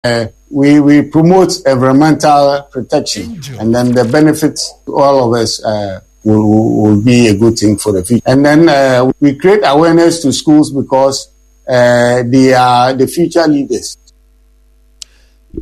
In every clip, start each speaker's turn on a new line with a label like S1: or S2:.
S1: We, we promote environmental protection and then the benefits to all of us uh, will, will be a good thing for the future. And then uh, we create awareness to schools because uh, they are the future leaders.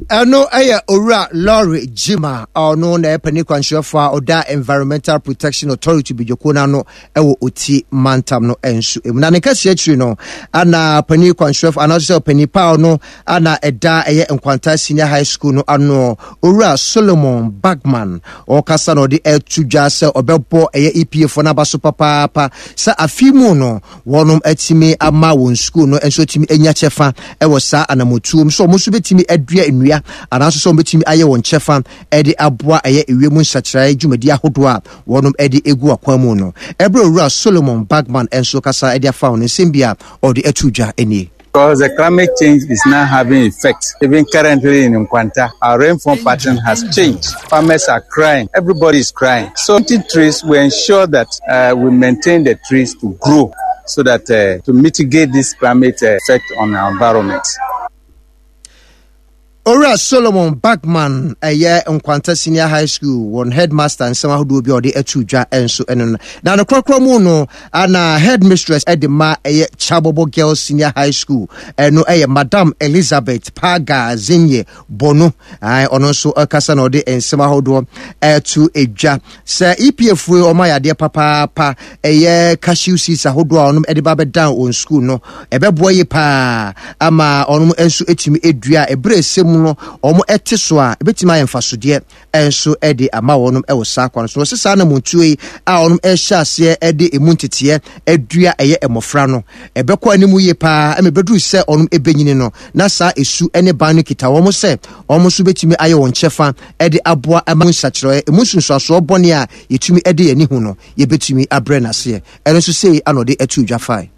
S2: Ɛno yɛ Owura Laurie Gyimah a ɔno na ɛyɛ panin kwankyerɛfoɔ a ɔda Environmental Protection Authority badwakuo no ano wɔ Oti mantam no nso mu. Na ne kɛseɛ akyiri no, ana panin kwankyerɛfoɔ anaasɛ ɔpanin pa ɔno ana ɛda ɛyɛ Nkwanta Senior High School no ano, Owura Solomon Bagman, ɔkasa na ɔde ɛto dwa sɛ ɔbɛbɔ ɛyɛ EPA foɔ no aba so papaapa sɛ afe mu no wɔnom atumi ama wɔn sukuu no nso atumi anya kyɛfa wɔ saa anamotuo mu sɛ wɔn nso bɛtumi adua nnua anaasɛ sɛ wɔn bɛtumi ayɛ wɔn kyɛfa de aboa ɛyɛ ewiem nsakyeraeɛ dwumadi ahodoɔ a wɔnom de egu akwan mu no. Ɛberɛ Owura Solomon Bagman nso kasa de afa ho no, nsɛm bi a ɔde ato dwa nie.
S3: Because the climate change is now having effect. Even currently in Nkwanta, our rainfall pattern has changed. Farmers are crying. Everybody is crying. So planting trees, we ensure that uh, we maintain the trees to grow so that uh, to mitigate this climate uh, effect on our environment.
S2: Owura Solomon Bagman ɛyɛ Nkwanta Senior High School wɔn headmaster nsɛm ahodoɔ bi a ɔde ato dwa nso ɛno no. Na no korɔkorɔ mu no ana headmistress ɛde ma ɛyɛ Kyabobo Girls Senior High School ɛno ɛyɛ Madam Elizabeth Paga Zinye Bono. Ɔno nso ɛkasa na ɔde nsɛm ahodoɔ ɛto dwa sɛ EPA foɔ wɔn ayɛ adeɛ papaapa ɛyɛ cashew seeds ahodoɔ a wɔn de ba bɛdan wɔn sukuu no ɛbɛboa yie paa ama wɔn nso atumi adua ɛberɛ ɛsɛ mu no wɔn ɛte so a ɛbɛtumi ayɛ mfasodeɛ nso de ama wɔn wɔ saa kwan so wɔsɛ saa namontuo yi a wɔn ɛhyɛ aseɛ de emu nteteɛ adua ɛyɛ mmɔfra no ɛbɛkɔ anim yie paa ɛma ɛbɛduru sɛ wɔn ɛbɛnyini no na saa esu ne ban no kita wɔn sɛ wɔn nso bɛtumi ayɛ wɔn kyɛfa de aboa ama nsakyerɛɛ emu nsunsuansoɔ bɔne a yɛtumi de yɛn ani hu no, yɛbɛtumi abrɛ no aseɛ. Ɛno nso sei ana ɔde atuu dwa fae.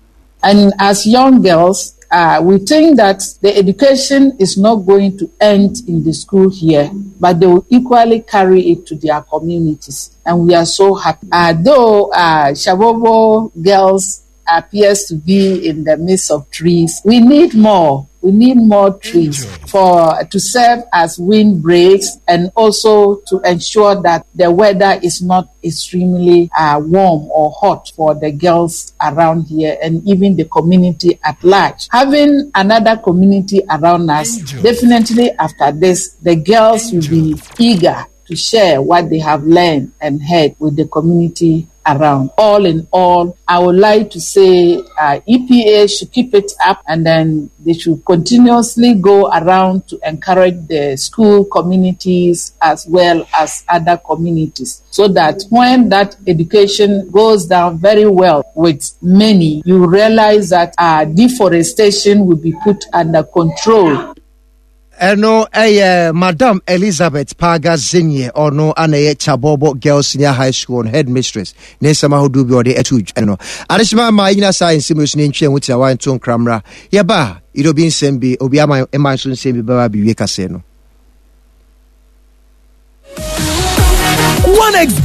S4: And as young girls, uh, we think that the education is not going to end in the school here, but they will equally carry it to their communities. And we are so happy. Uh, though uh, Shabobo girls appears to be in the midst of trees, we need more. We need more trees for to serve as windbreaks and also to ensure that the weather is not extremely uh, warm or hot for the girls around here and even the community at large. Having another community around us, definitely after this, the girls will be eager to share what they have learned and heard with the community around. All in all, I would like to say uh, EPA should keep it up and then they should continuously go around to encourage the school communities as well as other communities so that when that education goes down very well with many, you realize that uh, deforestation will be put under control.
S2: Ɛno yɛ Madam Elizabeth Paga Zinye, ɔno ana ɛyɛ Kyabobo Girls Senior High School no headmistress, ne nsɛm ahodoɔ bi ɔde ɛto dwa no. Adehyema ma yɛnyina saa nsɛm yi so ne ntwea ho tiawa nto nkramra. Yɛba a, yɛde obi nsɛm bi, obi ama mma nso nsɛm bi bɛba abɛwie kaseɛ no.
S5: 1xBet.